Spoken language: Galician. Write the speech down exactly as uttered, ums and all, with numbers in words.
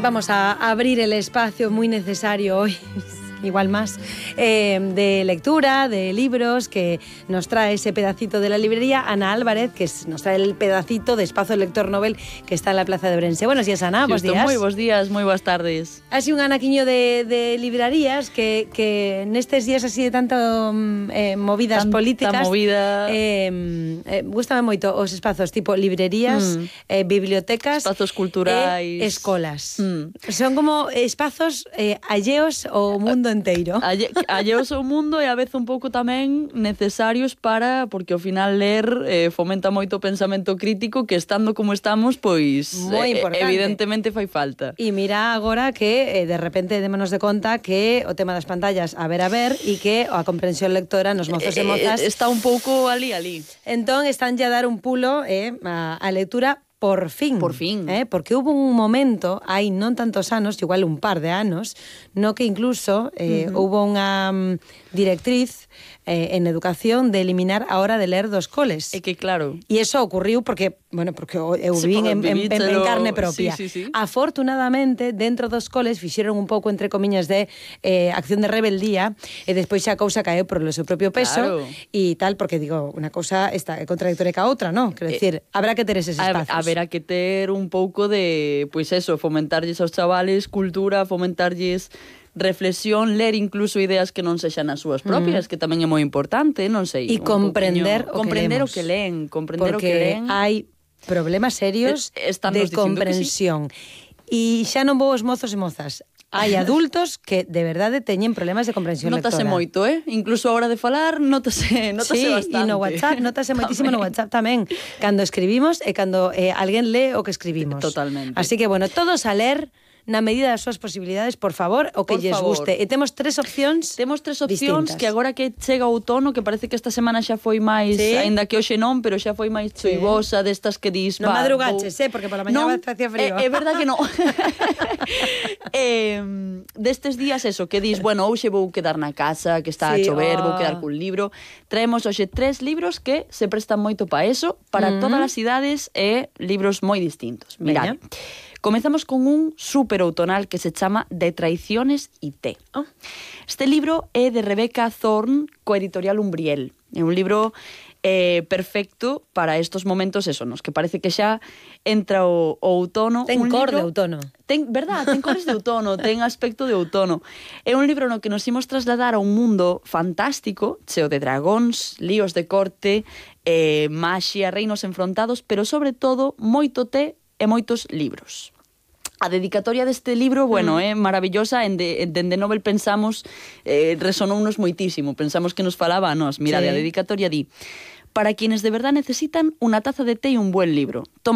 vamos a abrir el espacio muy necesario hoy, igual más, eh, de lectura, de libros, que nos trae ese pedacito de la librería Ana Álvarez, que es, nos trae el pedacito de Espazo Lector Novel que está en la Plaza de Ourense. Buenos días, Ana, bos días. Moi bos días, moi boas tardes. Así un anaquiño de, de librarías que, que nestes días así de tanto eh, movidas Tanta políticas movida. eh, eh, gústame moito os espazos tipo librerías, Mm. eh, bibliotecas, Espazos culturais, e escolas. Mm. Son como espazos eh, alleos ao mundo enteiro. Alle, alleos ao mundo e a vez un pouco tamén necesarios para, porque ao final ler eh, fomenta moito o pensamento crítico que estando como estamos, pois Moi eh, importante. evidentemente fai falta. E mira agora que eh, de repente démonos de conta que o tema das pantallas a ver a ver e que a comprensión lectora nos mozos e mozas Eh, está un pouco ali, ali. entón están ya a dar un pulo eh, a, a lectura por fin. Por fin. Eh, porque hubo un momento, hai non tantos anos, igual un par de anos, no que incluso eh, uh-huh. hubo unha um, directriz eh, en educación de eliminar a hora de ler dos coles. É que claro. E iso ocurriu porque, bueno, porque eu Sí, vin en, en, en, en vivíchelo, carne propia. sí, sí, sí. Afortunadamente, dentro dos coles fixeron un pouco, entre comiñas, de eh, acción de rebeldía e despois xa a cousa caeu por o seu propio peso e claro. tal, porque, digo, unha cousa está contradictoria ca outra, non? Quero dicir, eh, habrá que ter eses espazos. A, haberá que ter un pouco de, pois eso, fomentarlles aos chavales cultura, fomentarlles reflexión, ler incluso ideas que non sexan as súas propias, mm. que tamén é moi importante, non sei. E comprender, poquinho, o, comprender que o que leen, comprender porque o que leen. hai problemas serios eh, de comprensión. E xa non vou os mozos e mozas. Hai adultos que de verdade teñen problemas de comprensión notase lectora. Moito, eh? Incluso a hora de falar, notase, notase sí, bastante. E no WhatsApp, notase moitísimo no WhatsApp tamén. Cando escribimos e cando eh, alguén lee o que escribimos. Totalmente. Así que, bueno, todos a ler na medida das súas posibilidades, por favor, o que por lles favor. guste. E temos tres opcións Temos tres opcións distintas. Que agora que chega o outono, que parece que esta semana xa foi máis, sí. aínda que hoxe non, pero xa foi máis choivosa, sí. destas que dis... Non va, madrugaches, vou... eh, porque pola mañá non, facía frío. É, é verdad que non. eh, destes días, eso, que dis, bueno, hoxe vou quedar na casa, que está sí, a chover, oh. vou quedar cun libro. Traemos hoxe tres libros que se prestan moito para eso, para mm. todas as idades e libros moi distintos. Mirad. Comezamos con un super outonal que se chama De traiciones y té. Oh. Este libro é de Rebecca Thorne, co editorial Umbriel. É un libro eh, perfecto para estos momentos eso, nos que parece que xa entra o, o outono. Ten un cor libro, de outono. Ten, verdad, ten cores de outono, ten aspecto de outono. É un libro no que nos imos trasladar a un mundo fantástico, cheo de dragóns, líos de corte, eh, maxia, reinos enfrontados, pero sobre todo moito té e moitos libros. A dedicatoria deste libro, bueno, é mm. eh, maravillosa, en de, en de Nobel pensamos, eh, resonounos moitísimo, pensamos que nos falaba a nós. Mira, sí. A dedicatoria di: para quienes de verdad necesitan una taza de té y un buen libro. Toma